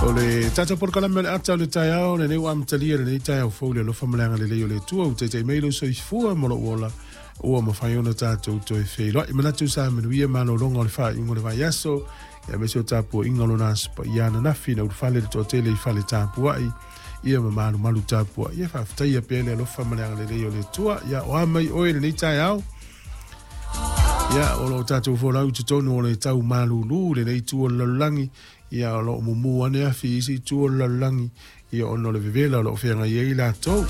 O le tatou polokalame o le ata o le taeao lenei ua amatalia lenei taeao fou i le alofa ma le agalelei o le Atua ua taitai mai lou soifua ma lou ola ua mafai ona tatou toe feiloai. Manatu sa manuia malologa o le faaiuga o le vaiaso aemaise o tapuaiga o lona aso paia ananafi na ulufale le toatele i fale tapuai ia ma malumalu tapuai. Ia faafetaia pea le alofa ma le agalelei o le Atua. Ia o a mai oe lenei taeao. Ia o lo o tatou folau i totonu o le tau malulu lenei itu o le lalolagi. Ia o lo o mumu ane afi i isi itu o le lalolagi ia ona o le vevela o lo o feagai ai latou.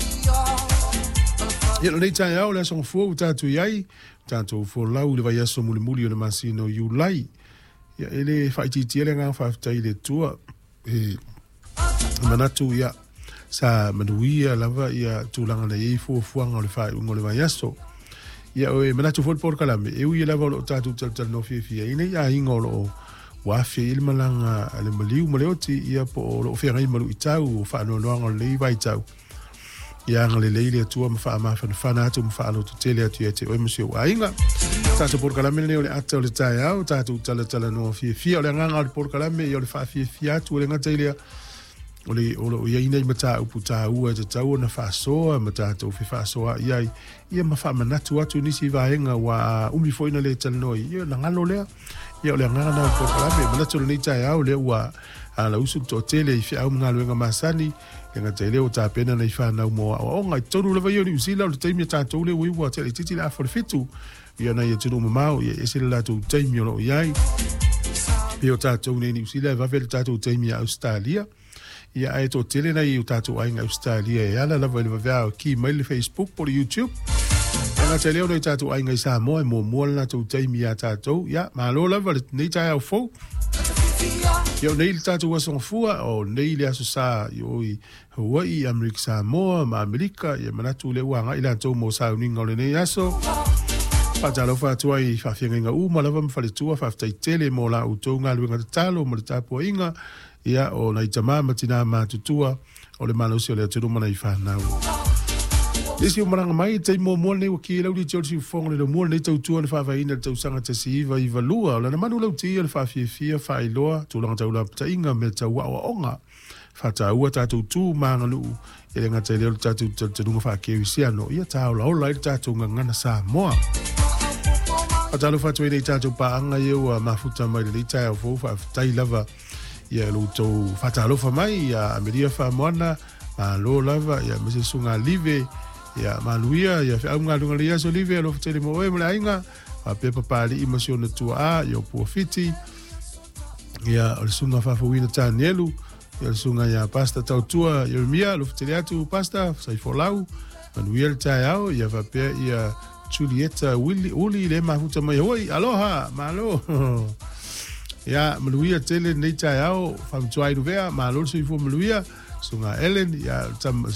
Ia lenei taeao le aso gafua ua tatou i ai, tatou folau i le vaiaso mulimuli o le masina o Iulai. Ia e le faaitiitia le agaga faafetai i le Atua e manatu ia sa manuia lava ia tulaga na i ai fuafuaga o le faaiuga o le vaiaso. Ia e manatu foi le polokalame, e ui lava o lo o tatou talatalanoa fiafia i nei aiga o lo o ua aafia i le malaga a le maliu ma le oti, ia po o lo o feagai ma luitau o faanoanoaga o lenei vaitau. Ia agalelei le Atua ma faamafanafana atu ma faalototele atu ia te oe ma si ou aiga. Tatou polokalame lenei o le ata o le taeao, tatou talatalanoa fiafia. O le agaga o le polokalame, ia o le faafiafia atu, e le gata i lea, o le o lo o i ai nei mataupu taua e tatau ona faasoa ma tatou fefaasoaai ai, ia ma faamanatu atu nisi vaega ua umi foi na le talanoa i, ia ona galo lea. Ia o le agaga lena o le polokalame. Manatu o lenei taeao lea ua alausu le toatele i feau ma galuega masani, le gata i lea ua tapena nai fanau mo aoaoga. I totonu lava ia o Niu Sila, o le taimi a tatou lea ua iu ua tele itiiti le afa o le 7, ia nai atunuu mamao, ia e ese le latou taimi o lo o i ai. Pei o tatou nei i Niu Sila e vave le tatou taimi ia Ausetalia. Ia ae toatele nai o tatou aiga Ausetalia e ala lava i le vaveao e ki mai le Facebook po o le YouTube. E gata i lea o nai tatou aiga i Samoa e muamua le latou taimi iā tatou. Ia, malo lava lenei taeao fou. Ia o nei le tatou aso gafua, o nei le aso sa i o i Hawaii, Amerika Samoa ma Amerika, ia manatu lea ua agai latou mo sauniga o lenei aso. Faatalofa atu ai i faafeagaiga uma lava ma faletua, faafetai tele mo la outou galuega tatalo ma le tapuaiga, ia o nai tama ma tinā matutua o le malosi o le atunuu ma nai fanau. Nisi o malaga mai, taimi muamua lenei ua ki lau liti o le siufofoga o le lomua lenei tautua na faavaeina i le tausaga 1992. O lana manu lauti o le faafiafia, faailoa, tulaga tau lapataiga, mea tau aoaoga. Faataua tatou tu ma aganuu, e le gata i lea o le tatou talitonuga faakerisiano, ia tāolaola ai le tatou gagana Samoa. Faatalofa atu ai nei tatou paaga ia ua mafuta mai lenei taeao fou, faafetai lava ia lo outou faatalofa mai ia Amelia Faamoana, malo lava ia aemaise Susuga Live, ia manuia ia feau ma galuega lenei aso Live, alofa tele mo oe ma le aiga, faapea Papalii ma si ona tuaa ia o Puafiti, ia o le Susuga Faafouina Tanielu, ia o le Susuga ia Pastor Tautua Ieremia, alofa tele atu Pastor, Saifolau, manuia le taeao, ia faapea ia Julieta Willy, Uli le mafuta mai Hawaii, aloha, malo. Ia, manuia tele lenei taeao, Faamatua Inuvea, malo le soifua manuia, Susuga Ellen, ia, Susuga